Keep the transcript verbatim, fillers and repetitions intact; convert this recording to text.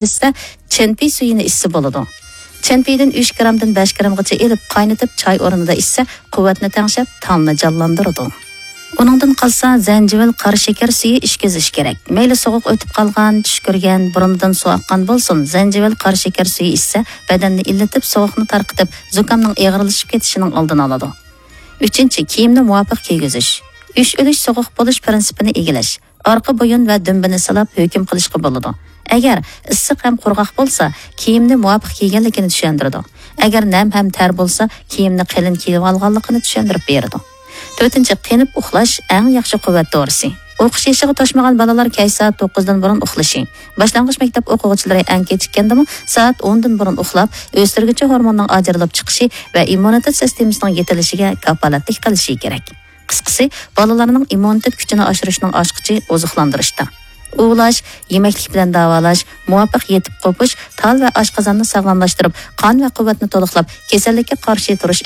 ئىچسە، چەنپى سۈيىنى ئىچسە بولىدۇ. چەنپىدىن ئۈچ گرامدىن بەش گرامغىچە ئېلىپ، قاينىتىپ چاي ئورنىدا ئىچسە، قۇۋۋەتنى تەڭشەپ، تاڭنى جانلاندۇرىدۇ. ئۇنىڭدىن قالسا، زەنجىۋىل قارا شېكەر سۈيى ئىچكۈزۈش كېرەك. مەيلى سوغۇق ئۆتۈپ قالغان، چۈشكۈرگەن، بۇرنىدىن سۇ ئاققان بولسۇن، زەنجىۋىل قارا شېكەر سۈيى ئىچسە، بەدەننى ئىللىتىپ، سوغۇقنى تارقىتىپ، زۇكامنىڭ ئېغىرلىشىپ كېتىشىنىڭ ئالدىنى ئالىدۇ. ئۈچىنچى، كىيىمنى مۇۋاپىق كىيگۈزۈش. ئۈچ ئۈلۈش سوغۇق بولۇش پىرىنسىپىنى ئىگىلەش. ئارقا بويۇن ۋە دۈمبىنى سىلاپ ھۆكۈم قىلىشقا بولىدۇ. ئەگەر ئىسسىق ھەم قۇرغاق بولسا، كىيىمنى مۇۋاپىق كىيگەنلىكىنى چۈشەندۈرىدۇ. ئەگەر نەم ھەم تەر بولسا، كىيىمنى قېلىن كىيىۋالغانلىقىنى چۈشەندۈرۈپ بېرىدۇ. تۆتىنچى، قېنىپ ئۇخلاش ئەڭ ياخشى قۇۋۋەت دورىسى. ئوقۇش يېشىغا توشمىغان بالىلار كەچ سائەت توققۇزدىن بۇرۇن ئۇخلىشى. باشلانغۇچ مەكتەپ ئوقۇغۇچىلىرى ئەڭ كېچىككەندىمۇ سائەت ئوندىن بۇرۇن ئۇخلاپ، ئۆستۈرگۈچى ھورموننىڭ ئاجرىلىپ چىقىشى ۋە ئىممۇنىتېت سىستېمىسىنىڭ يېتىلىشىگە كاپالەتلىك قىلىشى كېرەك. قىسقىسى، بالىلارنىڭ ئىممۇنىتېت كۈچىنى ئاشۇرۇشنىڭ ئاچقۇچى ئوزۇقلاندۇرۇشتا. ئۇۋۇلاش، يېمەكلىك بىلەن داۋالاش، مۇۋاپىق يېتىپ قوپۇش، تال ۋە ئاشقازاننى ساغلاملاشتۇرۇپ، قان ۋە قۇۋۋەتنى تولۇقلاپ، كېسەللىككە قارشى تۇرۇش